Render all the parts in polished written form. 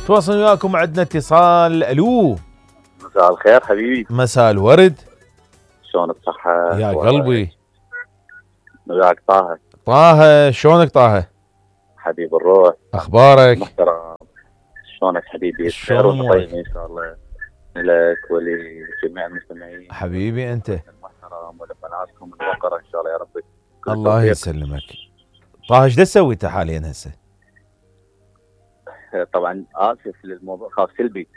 تواصل وياكم، عندنا اتصال. الو، مساء الخير حبيبي. مساء الورد. شلونك؟ صحة يا قلبي. وياك طه. طه، شلونك طه؟ حبيب الروح، اخبارك؟ محترم. شلونك حبيبي؟ شلون امورك؟ طيب ان شاء الله لك ولجميع المستمعين حبيبي انت المحترم ولبناتكم الوقرة ان شاء الله يا رب. الله يسلمك. طه ايش تسوي انت حاليا هسه؟ طبعا اسف للموضوع، خاف سلبي.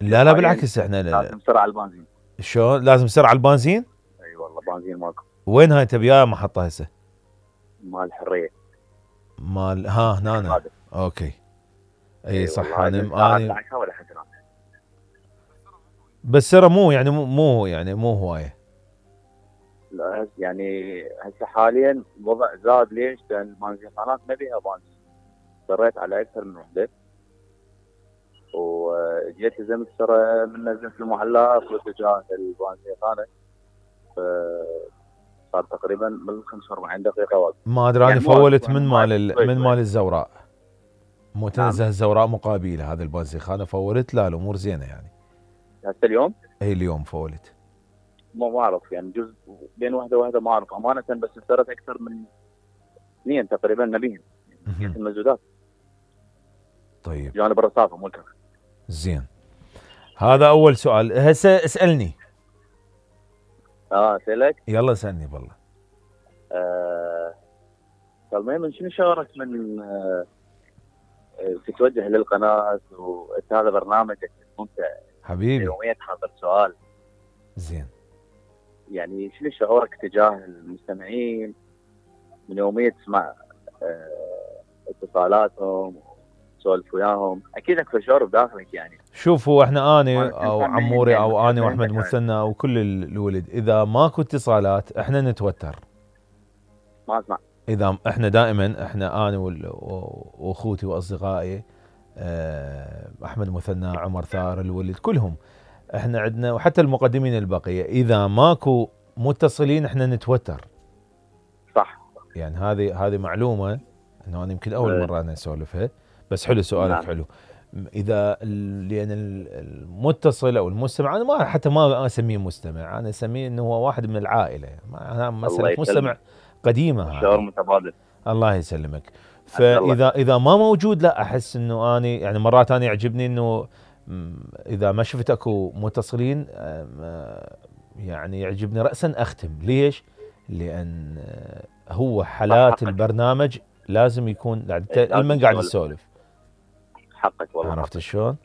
لا بالعكس، احنا لازم نسرع البنزين. شلون لازم نسرع البنزين؟ اي والله بنزين ماكو. وين هاي انت بيا محطة هسه؟ مال الحرية. مال هنا. اوكي. اي صح. انا ولا حد بس ترى مو هوايه. لا يعني هسه حاليا الوضع زاد. ليش؟ لان البنزينات ما بيها بنزين. اضطريت على اكثر من وحده وجيت لزمت ترى من نزلت المحلات واتجاه البنزينخانه، صار تقريبا من 45 دقيقه وقت. ما ادري انا فولت من مال الزوراء، مو تنزه الزوراء مقابله هذا البنزينخانه. فولت. لا الامور زينه يعني هسه اليوم. اي اليوم فولت. ما اعرف يعني جزء بين وحده ما اعرف امانه، بس اشتريت اكثر من 2 تقريبا نبيهم المزودات. طيب جانب الرصافه مو الكرخ. زين، هذا اول سؤال. هسه اسالني. اسالك. يلا اسالني بالله. المهم شنو شعورك من تتوجه للقناه وهذا برنامجك ممتع حبيبي؟ يوميا حاضر سؤال. زين. يعني شنو شعورك تجاه المستمعين من يوميا تسمع اتصالاتهم وتسولف وياهم؟ اكيد اكو شعور بداخلك يعني. شوفوا احنا اني او عموري او اني واحمد مثنى وكل الولد، اذا ماكو اتصالات احنا نتوتر. ما اسمع. اذا احنا دائما احنا انا واخوتي واصدقائي احمد مثنى، عمر ثار، الولد، كلهم احنا عندنا، وحتى المقدمين البقيه، اذا ماكو متصلين احنا نتوتر. صح. يعني هذه معلومه انه انا يمكن اول مره انا اسولفها، بس حلو سؤالك. نعم. حلو. اذا لان المتصل او المستمع، انا حتى ما اسميه مستمع، انا اسميه انه هو واحد من العائله. انا مساله مستمع قديمه. شعور متبادل. الله يسلمك. فاذا ما موجود، لا احس انه اني يعني مرات انا يعجبني انه اذا ما شفت اكو متصلين يعني يعجبني راسا اختم. ليش؟ لان هو حالات البرنامج لازم يكون لمن قاعد تسولف. حقك والله. عرفت شلون؟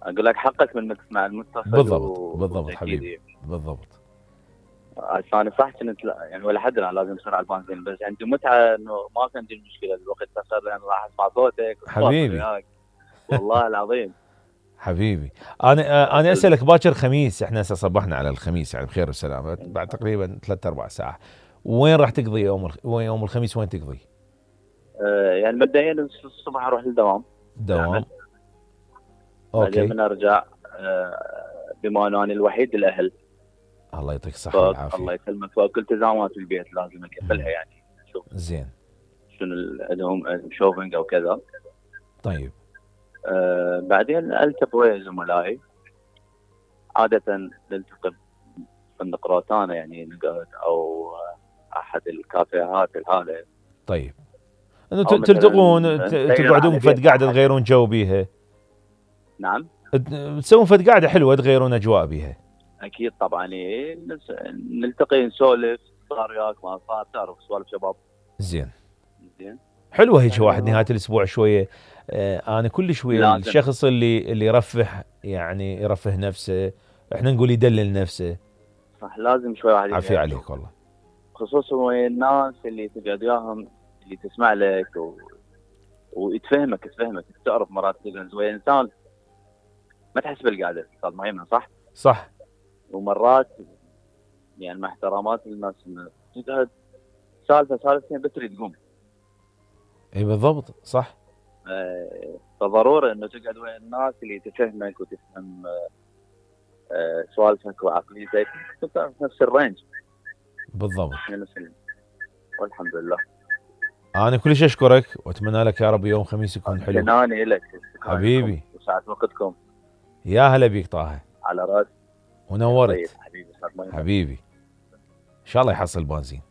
اقول لك حقك من انك تسمع المتصل. بالضبط حبيبي، بالضبط. انا صح كنت يعني ولا حد لازم اسرع البنزين، بس عندي متعه انه ما كان عندي مشكله الوقت قصر، لان راح اسمع صوتك حبيبي والله العظيم. حبيبي انا اسالك، باكر خميس، احنا هسه صبحنا على الخميس يعني بخير وسلامه بعد تقريبا 3-4 ساعات. وين راح تقضي يوم الخميس؟ وين تقضي؟ يعني مبدئيا الصبح اروح للدوام. اوكي. بعدين من ارجع بما انه انا الوحيد الاهل. الله يعطيك الصحه والعافيه. الله يسلمك. فكل التزامات البيت لازم اكملها يعني. شوف زين شنو عندهم شوبينج او كذا. طيب. بعدين التقي ويا زملائي. عاده نلتقي فندق روتانا يعني نقعد او احد الكافيهات هذا. طيب انه تلتقون تقعدون فد قاعده تغيرون جو بيها. نعم. تسوون فد قاعده حلوه تغيرون اجواء بيها. اكيد طبعا. نلتقي نسولف، صار وياك ما صار، تعرف سوالف شباب. زين حلوه هيك واحد نهايه الاسبوع شويه. انا كل شويه الشخص اللي يرفه يعني يرفه نفسه، احنا نقول يدلل نفسه. صح، لازم شوي واحد عافية عليك والله. خصوصا ويا الناس اللي تقعد وياهم، اللي تسمع لك ويتفهمك تعرف مرات تجلس ويا انسان ما تحس بالقعده. استاذ مهيمن صح. ومرات يعني مع احترامات الناس تقعد سالفتين بس تريد تقوم. اي بالضبط صح. فضروري انه تقعد ويا الناس اللي تفهمك وتفهم سوالفك وعقليتك، تعرف نفس الرينج. بالضبط. والحمد لله. انا كلش اشكرك واتمنى لك يا رب يوم خميس يكون حلو. شكراني لك حبيبي وساعة وقتكم. يا هلا بيك طه. على راس. ونورت حبيبي حبيبي. ان شاء الله يحصل بنزين.